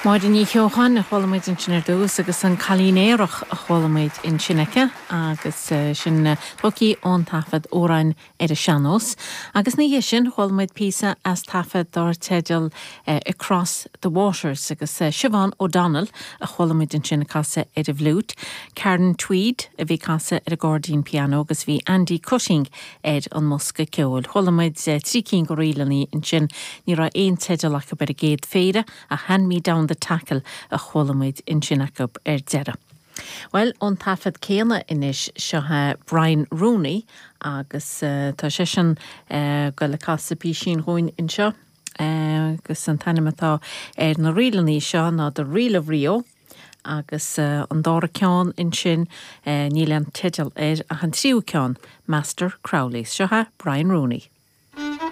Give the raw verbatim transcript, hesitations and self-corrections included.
Máire Ní Cheocháin a chuala muid ansin ar dtús agus an Cailín Aerach a chuala muid ansin aici agus eh, sin eh, tógtha ón taifead Amhráin ar an Sean-Nós. Agus ina dhiaidh sin chuala muid píosa as taifead dar teideal uh, Across the Waters agus uh, Siobhán O'Donnell a chuala muid ansin ag casadh ar an bhfliúit. Karen Tweed a bhí ag casadh ar an gcairdín pianó agus bhí Andy Cutting ar an mbosca ceoil. Chuala muid uh, trí cinn de ríleanna ansin ní raibh aon teideal acu ar an gcéad phéire a Hand Me Down the Tackle a chuala muid ansin acu ar deireadh. Well ón taifead céanna anois seo Brian Rooney agus uh, tá sé sin uh, go le casadh písín dúinn anseo. Uh, agus an t-ainm atá ar na ríleanna seo ná The Reel of Rio agus uh, an dara ceann ansin uh, níl an teideal air ach an tríú ceann Master Crowley seo Brian Rooney.